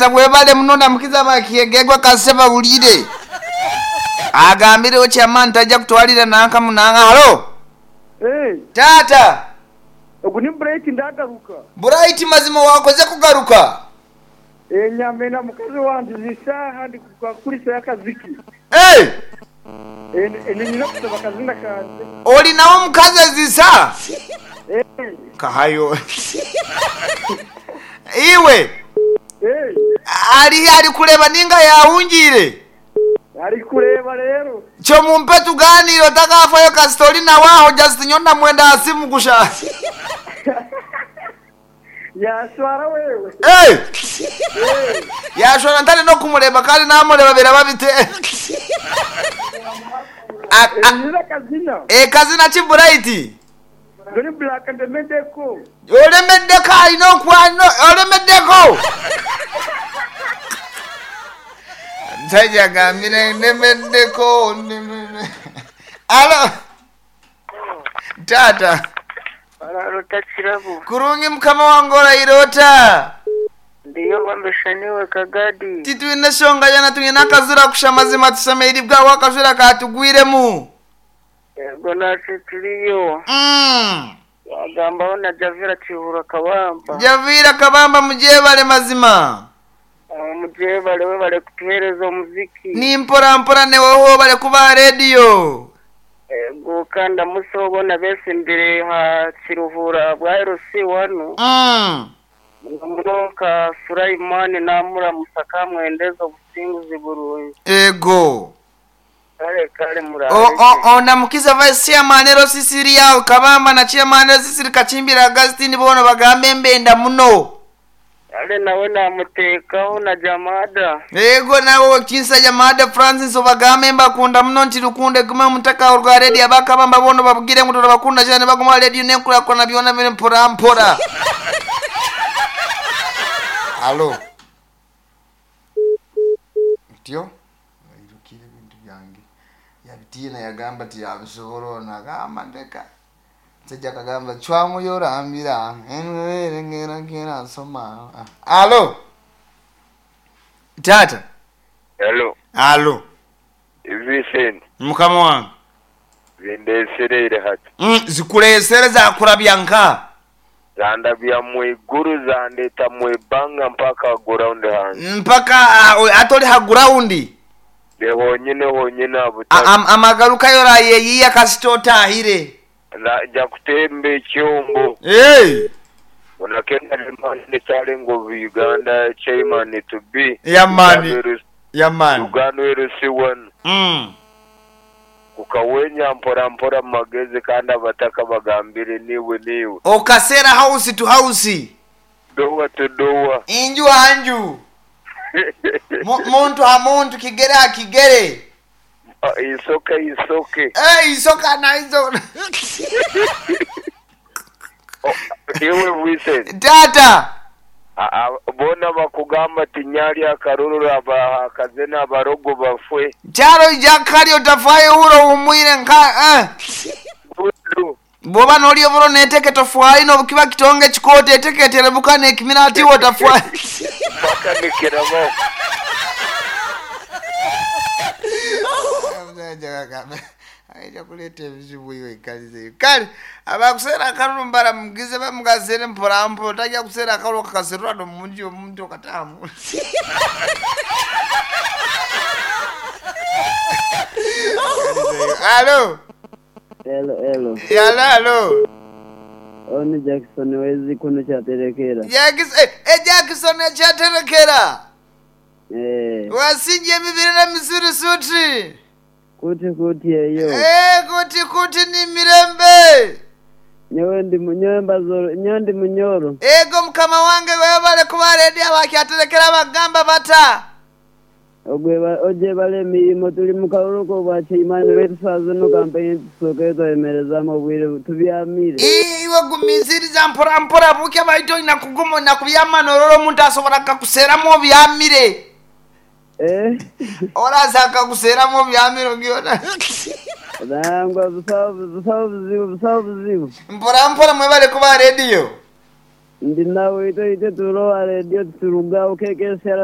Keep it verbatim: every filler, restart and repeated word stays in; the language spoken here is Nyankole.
Tata webale muno namukiza bakyegegwa kase bawulire. Agambirewo chairman tajja kutwalira nanka munanga. Halo. Hey, Tata. Ogu ni Bright ndagaruka. Bright mazima wakoze kugaruka. Eh, nyamena mukazi wanje zishaha ndi kukurisa yakaziki. Hey! Eh, nina kusaba kazina kanje. Oli nawo mukazi zisa? Eh. Kahayo. Iwe. Eh. Ali ali kuleba ninga yahungire. Ali kuleba rero. Kyo mumpe tuganire otakafayo kasita na waho just nyona mwenda asimu kusha. Yashwara wewe. Hey! Hey! Yashwara ntale no kumuleba kandi namuleba biraba bite. Nina kazina. Eh, kazina ki Bright? Goni Black ndemeddeko. Olemeddeko alina okwano olemeddeko. Musajja agambire ndemeddeko. Alo. Tata. Ararota kirabo. Kurungi mukama wange orayirota. Ndiyo bambeshaniwe kagadi. Titwine shonga yana twine akazura kusha mazima tusemeire bwawe akajura katugwiremu. Yego natwe turiyo. Mm. Wagambaho na Javira Kihura Kabamba. Javira Kabamba mujebale mazima. Mujebale we bale kutuhereza omuziki. Ni mpora mpora neweho bale kuba radio. Ego kandi musobona besimbire ha Kiruhura bwa L C one. Mm. Munoka Sulaimani namura musaka mwendeza obusinguzi burungi. Ego. Kale kale murare. O o o namukiza vice chairman ero Sisiria Kabamba na chairman ero Sisiri Kachimbira Augustine bono bagambe mbenda muno. Ale nawe namutekaho na Jamada. Ego nawe kinsa Jamada Francis obagambe mbakunda muno nti lukunde gume mutaka urwa radio abakabamba bono babugire ngo turabakunda cyane baguma radio nenkura kona byona biri mpora mpora. Alo. Tio? Irukire bintu byange. Yabitiina yagamba ti yabisobola ono agamba ndeka. Musajja akagamba cwamu yorambira ngera ngera nsoma. Alo. Tata. Hello. Alo. Vincent. Mukama wange. Zindesereire hati. Mm, zikuleesere zakurabya nka. Zandabya mwiguru zandeta mwibanga mpaka ground hanze. Mpaka uh, atoli ha ground. De honyine honyine abutaka. Am, amagaruka yorayeyiya kasita otahire. Naja kutemba ekyombo. Hey. Onakenda limani challenge of Uganda chairman to be. Yeah man. Yeah man. Uganda L C one. Mm. Kukawenya mpora mpora magezi kandi abataka bagambire niwe niwe. Okasera house to house. Dowa to dowa. Inju anju. Muntu ha muntu kigere ha kigere. Isoke isoke. Eh, isoka na iso. Iwe Vincent. Tata. Bona bakugamba tinyali akarurura abakaze n'abarogo bafwe. Charo jakali otafayo uro umwire nka eh. Bwoba noli oburo neteke tofwayi nobukiba kitonge chikote eteke terebuka nekimira ati otafwayi. Paka nikirabo. Aija kuleta ebizibu iwe ikalize. Kale abakusera akalulu mbara mugize bamugazere mpora mpora tajja kusera akalulu kakaserwa no munji omuntu okatamu. Alo. Hello, hello. Yala, hello. Oni Jackson wezi kuno kyaterekera. Jackson, eh, eh Jackson kyaterekera. Eh. Wasinje mibiri na misuri suti. Kuti kuti eyo. Eh, kuti kuti ni mirembe. Nyewe ndi munyemba zoro, nyewe ndi munyoro. Ego mukama wange webale kuba ready abakyaterekera bagamba bata. Ogweba ojebale emirimo tuli mu kalulu bwa chairman wetusaze no campaign tusoke twemereza mu bwire tubyamire. Iwe gumisiriza mpora mpora buke baito ina kugumo na kubyama nororo omuntu asobola kakuseramu obyamire. Eh. Oraza akakuseramu obyamire ogyona. Nangwa busawo busawo buzibu busawo buzibu. Mpora mpora mwebale kuba radio. Ndi nawe ito ite tulowa radio turugawo kekesera.